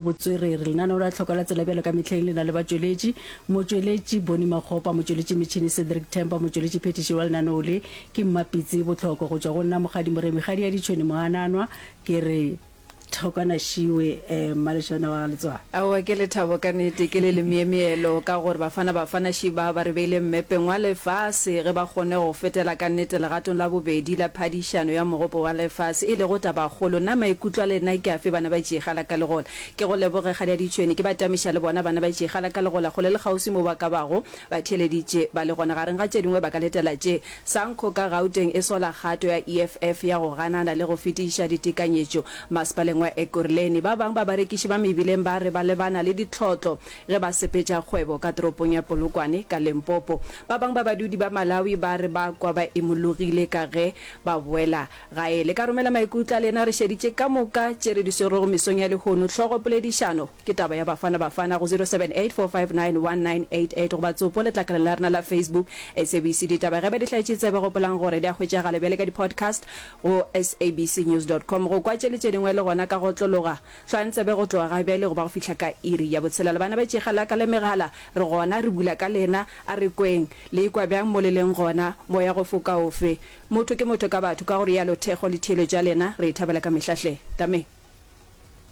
Botswerere, Lenaneo la Tlhoko la Tsela bjalo ka mehleng le na le batšweletši, motšweletši Bonnie Makgopa, motšweletši metšhini Cedric Tempa, motšweletši phethiši wa lenaneo le ke Mmapitsi Bohloko. Go tšwa go nna Mokgadi Moremi Kgadi ya Ditšhwene Moananwa ke re Thokwana Šiwe eh, Mmalešwana wa ga Letswalo. Aowa ke lethabo ka nnete, ke le lemyemyelo ka gore Bafana Bafana Šiba ba re beile mmepeng wa lefase ge ba kgonne go fetela ka nnete legatong la bobedi la phadišano ya Mogopo wa Lefase e lego tabakgolo. Na maikutlo a lena ke afe bana ba Tšeegala ka Legola? Ke go leboge kgadi ya ditšhwene, ke ba tamiša le bona bana ba Tšeegala ka Legola kgole le kgauswi mo ba ka bago ba theeleditše ba le gona. Gareng ga tše dingwe ba ka letela tše, Sanco ka Gauteng e sola kgato ya EFF ya go ganana le go fetiša ditekanyetšo masepaleng wa Ekurhuleni. Ba bang ba barekiši ba mebileng ba re ba lebana le ditlhotlo ge ba sepetša kgwebo ka toropong ya Polokwane ka Limpopo. Ba bang ba badudi ba Malawi ba re ba kwa ba imologile ka ge ba boela gae. Le ka romela maikutlo a lena re šeditše ka moka tše re di swerego mesong ya lehono. Hlogo poledišano ke taba ya Bafana Bafana go 0784591988 goba tsopo letlakaleng la rena la Facebook SABC Ditaba. Ge ba di hlaetše tsebe gopolang gore di a hwetšagala bjale ka di podcast go sabcnews dot com. Go kwa tše le tše dingwe le gona ka go otlologa. Hlwang tsebe go tloga ga bjale go ba go fihla ka iri ya botshelela. Bana ba tšega la ka le megala, re gona re bula ka lena. A re kweng. Le ikwa bjang mo le leng gona? Moya go foka ofe? Motho ke motho ka batho, ka go rialo thekgo le theeletšo ya lena re e thabela ka mehla hle. Tameng.